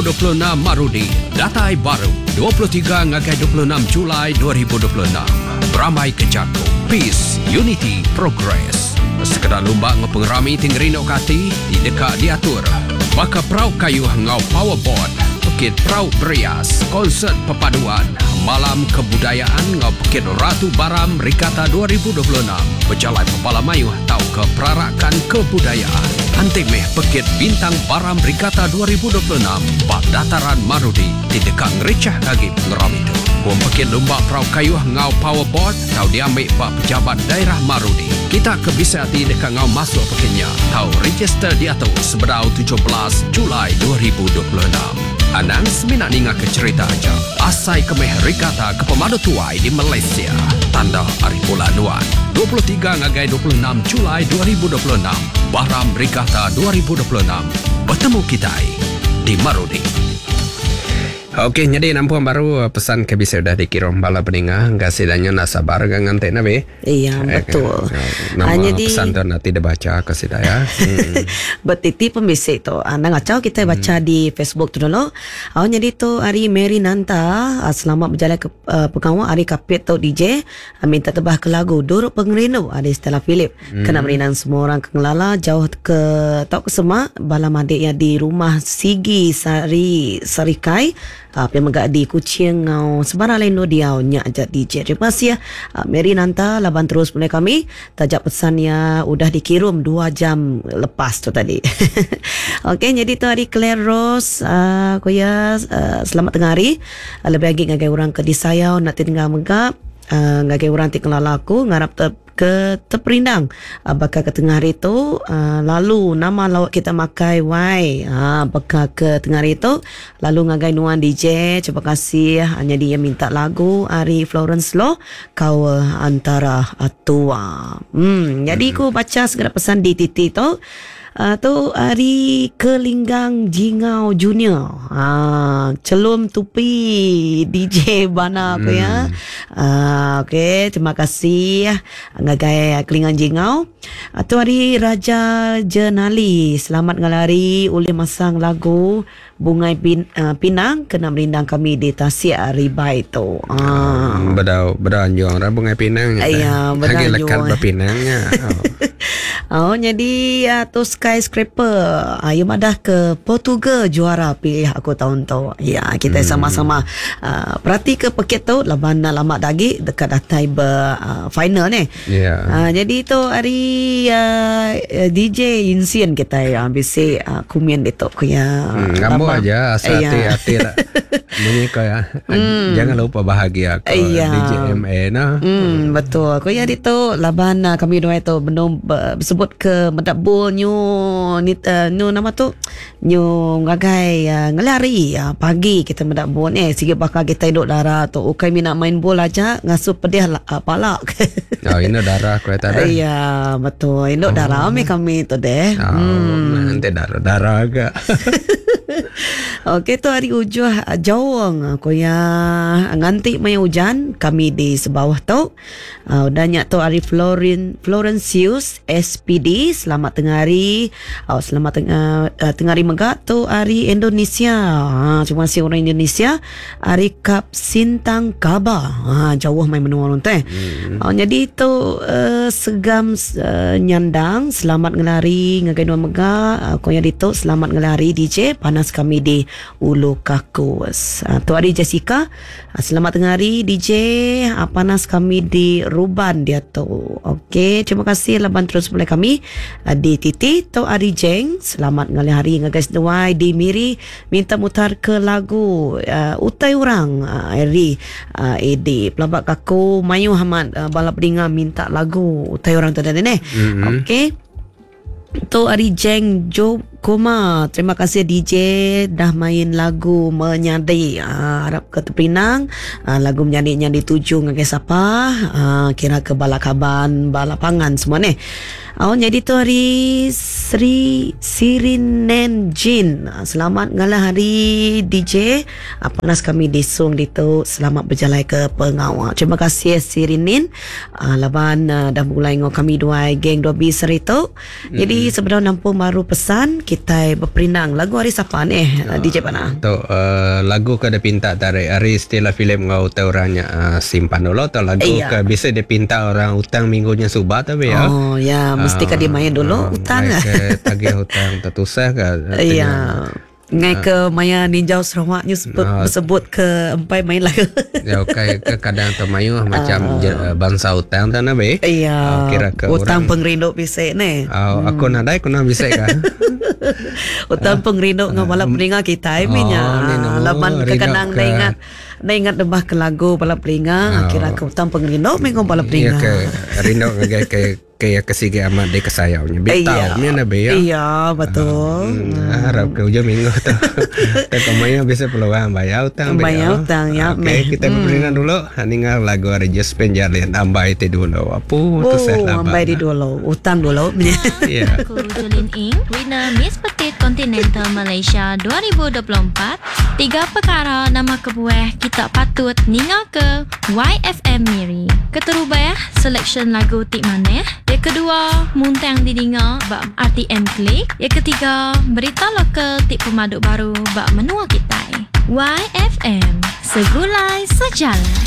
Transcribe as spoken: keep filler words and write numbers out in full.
dua puluh enam Marudi datai baru dua puluh tiga ngagai dua puluh enam Julai dua ribu dua puluh enam. Berambai ke jaku Peace, Unity, Progress. Sekeda lumba ngau pengerami ti ngerindu ke ati ti deka diatur baka perau kayuh ngau powerboard, pekit perau berias, konsert perpaduan, malam kebudayaan ngau pekit Ratu Baram Regatta dua ribu dua puluh enam, pejalai pepala mayuh tau ke perarakan kebudayaan. Antik meh pekit Bintang Baram Regatta dua ribu dua puluh enam bak dataran Marudi ti deka ngericah lagi pengerami tu. Pom pekit lumba perau kayuh ngau powerboard tau diambil bak pejabat daerah Marudi. Kita ke bisa hati deka ngau masuk pekitnya tau register diatu sebedau tujuh belas Julai dua ribu dua puluh enam. Anang semina ninga ke cerita aja. Asai kemeh regatta ke pemadu tuai di Malaysia. Tanda hari bulan nuan. dua puluh tiga ngagai dua puluh enam Julai dua ribu dua puluh enam. Baram Regatta dua ribu dua puluh enam. Bertemu kita di Marudi. Okey, jadi nampung baru pesan ke bisa sudah dikirim bala peninga. Kasih danyo nak sabar kan nganti nabi. Iya, Eh, betul. eh, Nama Ah, jadi pesan tu nanti dibaca kasih dah ya. Hmm. Betiti pembisik tu. Ah, nang ngacau kita baca Hmm. di Facebook tu dulu. Ah, jadi tu hari Mary Nanta, ah, selamat berjalan ke uh, pengawal hari kapit tu D J. Ah, minta tebah ke lagu Duruk Pengerindu ada Stella Philip. Hmm. Kena merinang semua orang ke ngelala jauh ke tau ke semak bala madik yang di rumah Sigi Sari Sarikai. Ah, uh, megak di Kuching ngau sebarang lain lo diau nyak ajak D J. Terima kasih ya. Uh, Mary Nanta laban terus mulai kami tajak pesannya udah dikirim dua jam lepas tu tadi. Okey, jadi tu hari Claire Rose, uh, koya uh, selamat tengah hari. Uh, lebih lagi ngagai orang ke disayau nak tinggal megap, uh, ngagai orang ti kelala aku ngarap te ke terperindang uh, bakal ke tengah hari tu, uh, lalu nama lawak kita makai wai, ha, bakal ke tengah hari tu lalu ngagai nuan D J. Terima kasih hanya dia minta lagu Ari Florence Loh kau antara tua. Hmm, jadi aku baca segala pesan di T T tu. Uh, tu Ari Kelinggang Jingau Junior. Ha, celum tupi D J bana aku ya. Uh, okey, terima kasih ngagai Kelinggang Jingau. Uh, tu Ari Raja Jenali, selamat ngalari oleh masang lagu Bungai Pin, uh, Pinang kena merindang kami di Tasik Ribai tu. Ah. Hmm, bedau bedau anjung ra Bungai Pinang. Ya, bedau Lagi lekat anjung. berpinangnya. Oh. Oh, jadi uh, tu Skyscraper uh, yang madah ke Portugal juara pilih aku tahun tu. Ya, kita Hmm. sama-sama uh, perhati ke pekit tu laban lama dagi dekat datai ber uh, final ni. Ya. Uh, jadi tu hari uh, D J Insian kita ya bisi uh, kumian itu ku ya. Hmm, ngambo Lama. aja asal Ya. hati-hati lah. Bunyi kau ya. Jangan lupa bahagia kau Ya. D J M A nah. Hmm, betul. Kau ya itu laban uh, kami dua itu belum bersebut ke mendak bul nyu ni uh, nyu nama tu nyu ngagai uh, ngelari uh, pagi kita mendak bul ni sige bakal kita hidup darah tu ukai minat main bol aja ngasuh pedih uh, palak. Oh, ini darah kau tadi. Ya, betul. Induk oh. darah kami kami tu deh. Oh, hmm. Nanti darah darah agak. Okey, tu hari ujuh jauh aku ya nganti maya hujan kami di sebawah tu. Uh, udah nyak tu hari Florin Florencius S P D, selamat tengah hari. Oh, selamat tengah uh, tengah hari megak tu hari Indonesia. Ha, terima kasih orang Indonesia. Hari Kap Sintang Kaba. Ha, jauh main menua orang tu eh. Hmm. Oh, jadi tu uh, segam uh, nyandang selamat ngelari ngagai dua megak. Uh, koya ditu selamat ngelari D J panas kami di Ulu Kakus. Uh, tu hari Jessica, uh, selamat tengah hari D J, uh, panas kami di Ruban dia tu. Okey, terima kasih laban terus boleh kami uh, di T T. Tu hari Jeng, selamat ngalih hari ngagai seduai di Miri, minta mutar ke lagu uh, Utai Orang uh, Eri uh, A D. Pelabak kaku mayu Hamad uh, balap dengar minta lagu Utai Orang tu tadi ni. Mm-hmm. Okey. Tu hari Jeng Jo Koma, terima kasih D J dah main lagu Menyadi. Ha, harap ke Tepinang. Ha, lagu Menyadi-nya dituju ngagai siapa? Ha, kira ke balakaban, balapangan semua ni. Oh, jadi tu hari Sri Sirinen Jin. Selamat ngalah hari D J. Panas kami di Sung ditu. Selamat berjalan ke pengawal. Terima kasih Sirinin. Uh, laban uh, dah mulai ngau kami dua geng dua B seritu. Hmm. Jadi sebenarnya nampung baru pesan kita berperinang lagu hari siapa ni uh, D J Pana? Tu uh, lagu ke ada pinta tarik hari Stella Philip ngau tahu orangnya uh, simpan dulu atau lagu iya. Ke bisa dia pinta orang hutang minggunya subah tapi ya. Oh ya, mesti uh, kan dia main dulu uh, hutang. Ke tagih hutang tertusah ke. Iya. Ngai ke maya ninjau Sarawak ni sebut, sebut ke empai main lagu. Ya okey ke kadang tu mayu macam uh, bangsa hutang tak nak be. Iya. Uh, kira ke hutang pengerindu bisik ni. Oh, hmm. Aku nadai aku nak bisik ka. Hutang pengerindu ngau bala peninga kita oh, minya. Laban kekenang ke... ingat na ingat debah ke lagu bala peninga kira ke hutang pengerindu minggu bala peninga. Iya ke rindu ngagai ke kayak kesigi amat di kesayaunya. Bitau ni na be ya. Iya, betul. Hmm, harap ke ujung minggu tu. Tapi maya bisa peluang bayar hutang. Bayar hutang ya. Okey, kita hmm. berpergian dulu. Ningal lagu hari Just Penjalin ambai ti dulu. Apa tu saya laba. Ambai di dulu, hutang dulu. Ya. Aku Julin Ing, winner Miss Petit Continental Malaysia dua ribu dua puluh empat. Tiga perkara nama kebuah kita patut ningal ke Y F M Miri. Keterubah selection lagu tik maneh. Yang kedua, muntang didinga bak R T M Klik. Yang ketiga, berita lokal tik pemaduk baru bak menua kita. Y F M, segulai sejalan.